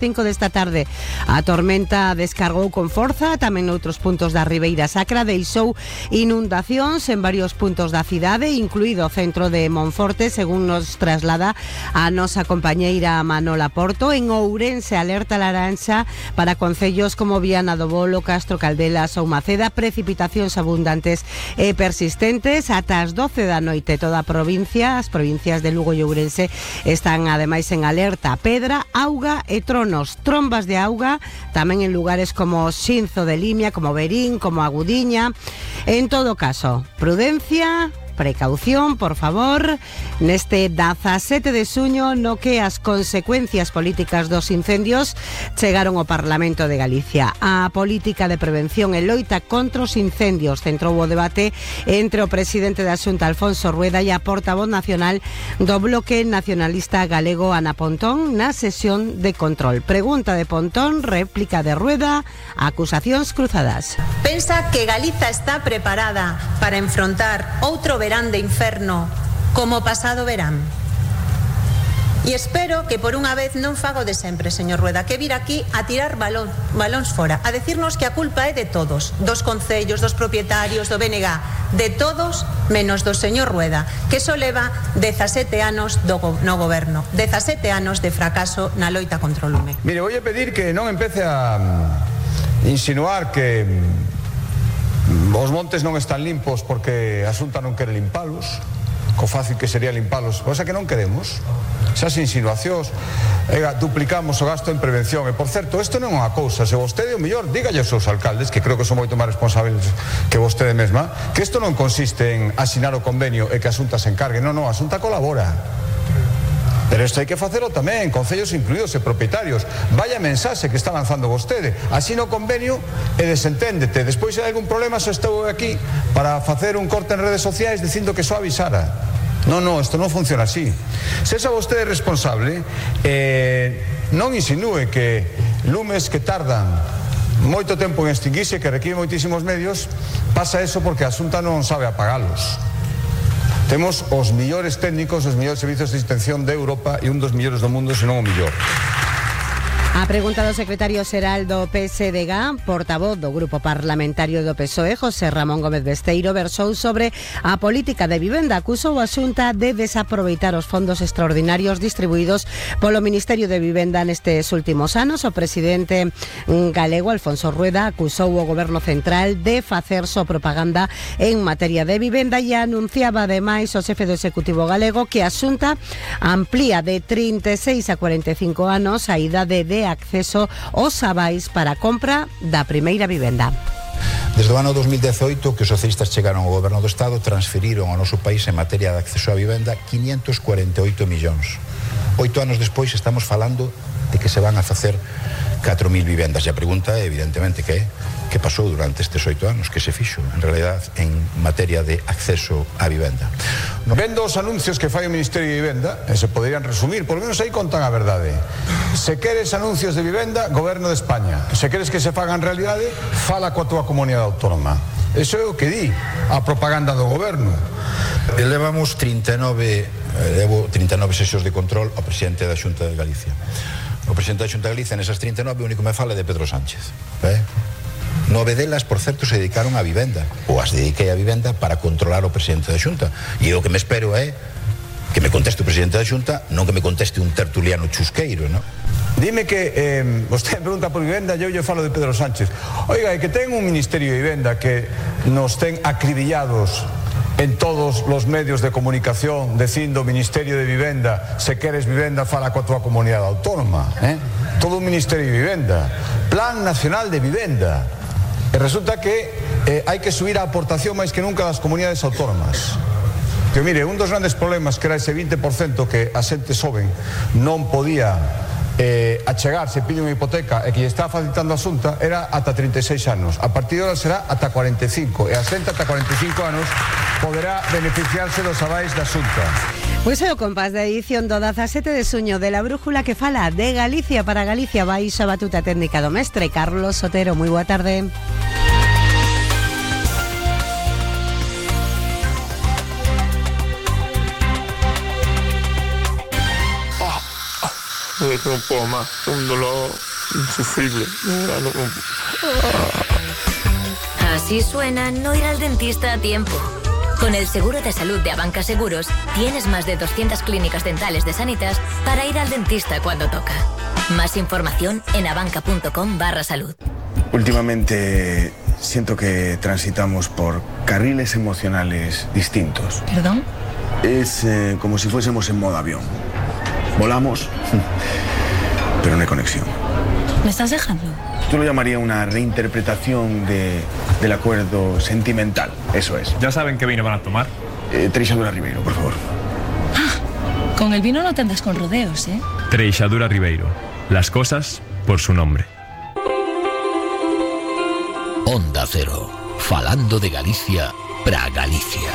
5 desta tarde a tormenta descargou con forza tamén noutros puntos da Ribeira Sacra, deixou inundacións en varios puntos da cidade, incluído o centro de Monforte, según nos traslada a nosa compañeira Manola Porto. En Ourense, alerta laranxa para concellos como Viana do Bolo, Castro Caldelas ou Maceda, precipitacións abundantes e persistentes ata as 12 da noite. Toda a provincia, as provincias de Lugo e Ourense están ademais en alerta. Pedra, auga e trombas de auga tamén en lugares como Xinzo de Limia, como Verín, como Agudiña. En todo caso, prudencia, precaución, por favor, neste 17 de xuño no que as consecuencias políticas dos incendios chegaron ao Parlamento de Galicia. A política de prevención e loita contra os incendios centrou o debate entre o presidente da Xunta, Alfonso Rueda, e a portavoz nacional do Bloque Nacionalista Galego, Ana Pontón, na sesión de control. Pregunta de Pontón, réplica de Rueda, acusacións cruzadas. Pensa que Galiza está preparada para enfrontar outro verán de inferno como pasado verán? E espero que por unha vez non fago de sempre, señor Rueda, que vir aquí a tirar balóns fora, a decirnos que a culpa é de todos, dos concellos, dos propietarios, do BNG, de todos menos do señor Rueda, que só leva 17 anos no goberno, 17 anos de fracaso na loita contra o lume. Mire, voy a pedir que non empece a insinuar que os montes non están limpos porque a Xunta non quere limpalos, co fácil que sería limpalos, cosa que non queremos. Esas insinuacións, duplicamos o gasto en prevención. E, por certo, isto non é unha cousa, se vostede, o mellor, dígalle aos seus alcaldes, que creo que son moito máis responsables que vostede mesma, que isto non consiste en asinar o convenio e que a Xunta se encargue. Non, a Xunta colabora. Pero isto hai que facelo tamén, concellos incluídos e propietarios. Vaya mensaxe que está lanzando vostede. Así no convenio e desenténdete. Despois se hai algún problema só estou aquí para facer un corte en redes sociais dicindo que só avisara. Non, isto non funciona así. Se esa vostede responsable, non insinúe que lumes que tardan moito tempo en extinguirse, que requiren moitísimos medios, pasa eso porque a Xunta non sabe apagalos. Temos os millores técnicos, os millores servizos de extinción de Europa e un dos millores do mundo, senón o millor. A pregunta do secretario xeral do PSDG, portavoz do Grupo Parlamentario do PSOE, José Ramón Gómez Besteiro, versou sobre a política de vivenda. Acusou a Xunta de desaproveitar os fondos extraordinarios distribuídos polo Ministerio de Vivenda nestes últimos anos. O presidente galego, Alfonso Rueda, acusou o Goberno Central de facer só propaganda en materia de vivenda e anunciaba ademais o xefe do Executivo galego que a Xunta amplía de 36 a 45 anos a idade de acceso aos avais para a compra da primeira vivenda. Desde o ano 2018 que os socialistas chegaron ao goberno do Estado, transferiron ao noso país en materia de acceso á vivenda 548 millóns. 8 anos despois estamos falando de que se van a facer 4.000 vivendas. E a pregunta é, evidentemente, que pasou durante estes 8 anos, que se fixo, en realidad, en materia de acceso á vivenda. Vendo os anuncios que fai o Ministerio de Vivenda, se poderían resumir, por lo menos aí contan a verdade. Se queres anuncios de vivenda, Goberno de España. Se queres que se fagan realidade, fala coa tua comunidade autónoma. Eso é o que di a propaganda do Goberno. Levamos 39 sesións de control ao presidente da Xunta de Galicia. O presidente da Xunta de Galicia nesas 39 o único me fala de Pedro Sánchez. 9 delas, por certo, se dedicaron á vivenda, ou as dediquei á vivenda para controlar o presidente da Xunta. E o que me espero é que me conteste o presidente da Xunta, non que me conteste un tertuliano chusqueiro, non? Dime que vostede me pregunta por vivenda e eu falo de Pedro Sánchez. Oiga, é que ten un Ministerio de Vivenda que nos ten acribillados en todos os medios de comunicación dicindo Ministerio de Vivenda, se queres vivenda fala coa tua comunidade autónoma, todo un Ministerio de Vivenda, Plan Nacional de Vivenda, e resulta que hai que subir a aportación máis que nunca das comunidades autónomas. Que mire, un dos grandes problemas que era ese 20% que a xente xoven non podía achegarse, pide unha hipoteca e que lle está facilitando a Xunta era ata 36 anos. A partir de ahora será ata 45 e a xente ata 45 anos poderá beneficiarse dos avais da Xunta. Pois é o compás da edición do 17 de xuño de La Brújula que fala de Galicia para Galicia. Baixo a batuta técnica do mestre Carlos Sotero. Moi boa tarde. No puedo más, un dolor insufrible. Así suena no ir al dentista a tiempo. Con el seguro de salud de Abanca Seguros, tienes más de 200 clínicas dentales de Sanitas para ir al dentista cuando toca. Más información en abanca.com/salud. Últimamente siento que transitamos por carriles emocionales distintos. ¿Perdón? Es como si fuésemos en modo avión. Volamos, pero no hay conexión. ¿Me estás dejando? Yo lo llamaría una reinterpretación del acuerdo sentimental, eso es. ¿Ya saben qué vino van a tomar? Treixadura Ribeiro, por favor. Ah, con el vino no te andas con rodeos, ¿eh? Treixadura Ribeiro. Las cosas por su nombre. Onda Cero. Falando de Galicia pra Galicia.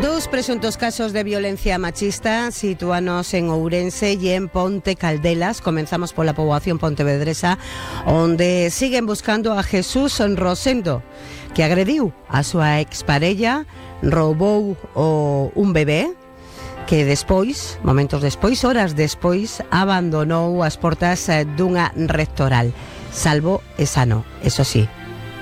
Dos presuntos casos de violencia machista situanos en Ourense y en Ponte Caldelas. Comenzamos por la poboación pontevedresa, onde siguen buscando a Jesús Rosendo, que agrediu a súa exparella, roubou un bebé, que despois, momentos despois, horas despois, abandonou as portas dunha rectoral. Salvo e sano, eso sí.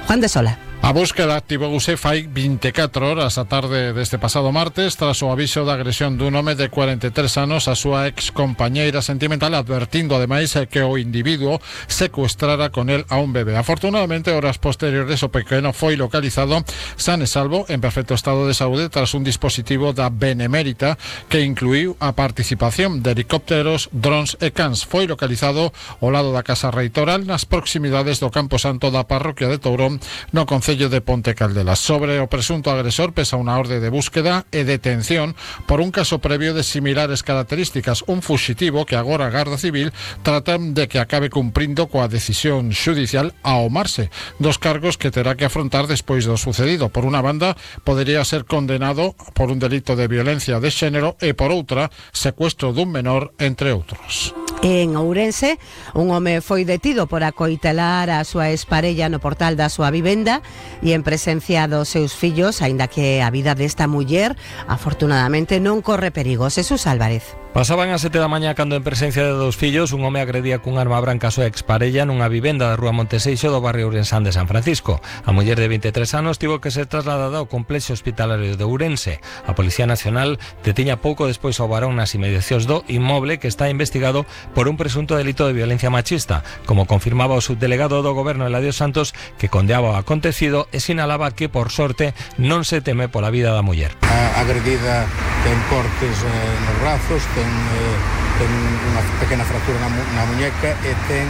Juan de Sola. A búsqueda activouse fai 24 horas a tarde deste pasado martes tras o aviso da agresión dun home de 43 anos a súa ex compañeira sentimental, advertindo ademais que o individuo secuestrara con el a un bebé. Afortunadamente, horas posteriores o pequeno foi localizado san e salvo en perfecto estado de saúde tras un dispositivo da Benemérita que incluiu a participación de helicópteros, drons e cans. Foi localizado ao lado da Casa Reitoral nas proximidades do Campo Santo da parroquia de Tourón, no concello de Ponte Caldelas. Sobre o presunto agresor pesa unha orde de búsqueda e detención por un caso previo de similares características, un fuxitivo que agora a Garda Civil tratan de que acabe cumprindo coa decisión xudicial ao marse dos cargos que terá que afrontar despois do sucedido. Por unha banda, podería ser condenado por un delito de violencia de xénero e por outra, secuestro dun menor, entre outros. En Ourense, un home foi detido por acoitelar a súa exparella no portal da súa vivenda e en presencia dos seus fillos, aínda que a vida desta muller afortunadamente non corre perigo. Jesús Álvarez. Pasaban as 7 da mañá cando en presencia de dos fillos un home agredía cun arma branca a súa exparella nunha vivenda da rúa Monteseixo do barrio ourensán de San Francisco. A muller de 23 anos tivo que ser trasladada ao complexo hospitalario de Ourense. A Policía Nacional detiña pouco despois ao varón nas inmediacións do inmoble que está investigado por un presunto delito de violencia machista, como confirmaba o subdelegado do Goberno Eladio Santos, que condeaba o acontecido e sinalaba que, por sorte, non se teme pola vida da muller. A agredida ten cortes nos brazos, ten unha pequena fractura na muñeca e ten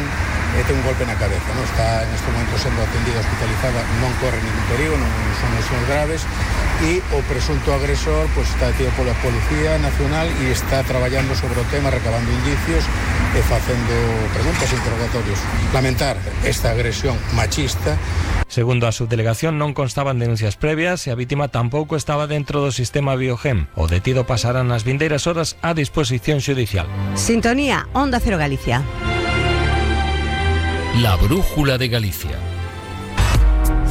un golpe na cabeza, non? Está neste momento sendo atendida hospitalizada, non corre ningún perigo, non son lesiones graves, e o presunto agresor pues, está detido pola Policía Nacional e está traballando sobre o tema, recabando indicios e facendo preguntas e interrogatorios. Lamentar esta agresión machista. Segundo a subdelegación, non constaban denuncias previas e a vítima tampouco estaba dentro do sistema Biogem. O detido pasará nas vindeiras horas a disposición xudicial. Sintonía, Onda Cero Galicia. La brújula de Galicia.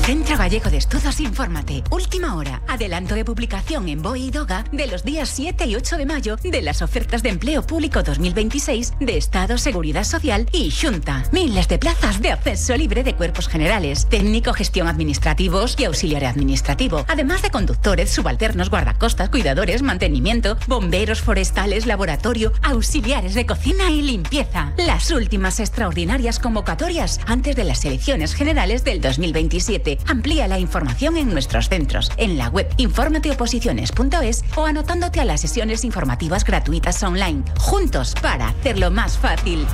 Centro Gallego de Estudos, infórmate. Última hora. Adelanto de publicación en BOE y DOGA de los días 7 y 8 de mayo de las ofertas de empleo público 2026 de Estado, Seguridad Social y Xunta. Miles de plazas de acceso libre de cuerpos generales, técnico, gestión administrativos y auxiliar administrativo. Además de conductores, subalternos, guardacostas, cuidadores, mantenimiento, bomberos forestales, laboratorio, auxiliares de cocina y limpieza. Las últimas extraordinarias convocatorias antes de las elecciones generales del 2027. Amplía la información en nuestros centros, en la web informateoposiciones.es o anotándote a las sesiones informativas gratuitas online. Juntos para hacerlo más fácil.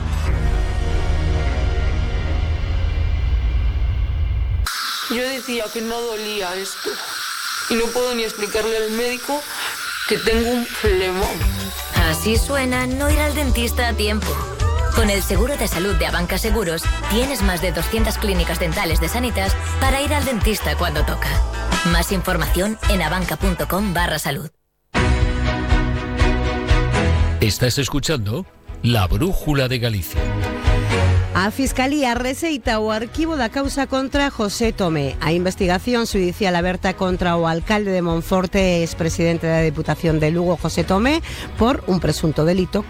Yo decía que no dolía esto y no puedo ni explicarle al médico que tengo un flemón. Así suena no ir al dentista a tiempo. Con el seguro de salud de Abanca Seguros, tienes más de 200 clínicas dentales de Sanitas para ir al dentista cuando toca. Más información en abanca.com/salud. Estás escuchando La Brújula de Galicia. A Fiscalía receita o arquivo da causa contra José Tomé. A investigación xudicial aberta contra o alcalde de Monforte e expresidente da Deputación de Lugo, José Tomé, por un presunto delito